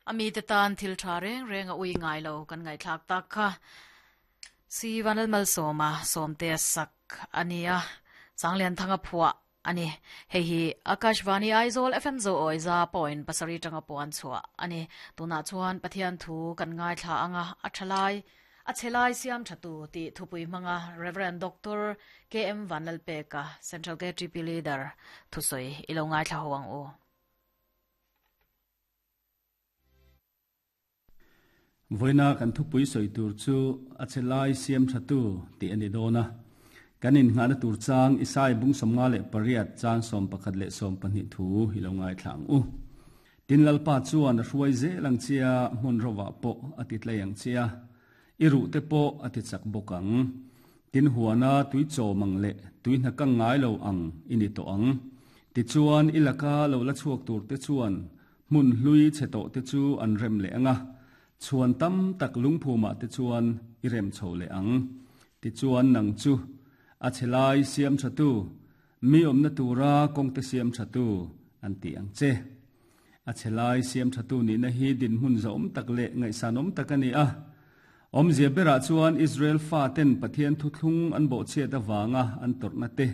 A mite tan thil tha reng reng a ui ngai lo kan ngaihthlak tak kha. Si Vanlalmalsawma Sawmtea sak a ni a, Sanglianthanga phuah a ni. Hei hi Akashvani Aizawl FM Zoawi za point pasarih tanga puan chhuah a ni. Tunah chuan Pathian thu kan ngaithla ang a, a tha lai, a chhe lai siam tha tu tih thupui hmanga Rev. Doctor KM Vanlalpeka, Central KTP Leader thusawi i lo ngaithla ho ang u. Vawiina kan thupui sawi tur chu a che lai siam thatu tih a ni dawn a. Kan innghahna tur chang Isai bung 58 chang 11 leh 12 thu i lo ngaithla ang u. Tin Lalpa chuan a hruai zel ang che a, hmun rovah pawh a ti tlei ang che a, i ruh te pawh a ti chak bawk ang. Tin huana tui chawm ang leh tui hna kang ngai lo ang i ni tawh ang. Tichuan i laka lo la chhuak tur te chuan Hmun hlui chhe tawh te chu an rem leh ang a, chhuan tam tak lungphumah te chuan i rem chho leh ang. Tichuan nang chu a chhe lai siam thatu, mi awmna tura kawngte siam thatu an ti ang che. A chhe lai siam thatu nihna hi dinhmun zahawm tak leh ngaihsanawm tak a ni a. Awmzia berah chuan Israel faten Pathian thuthlung an bawhchhiat avanga an tawrhna te.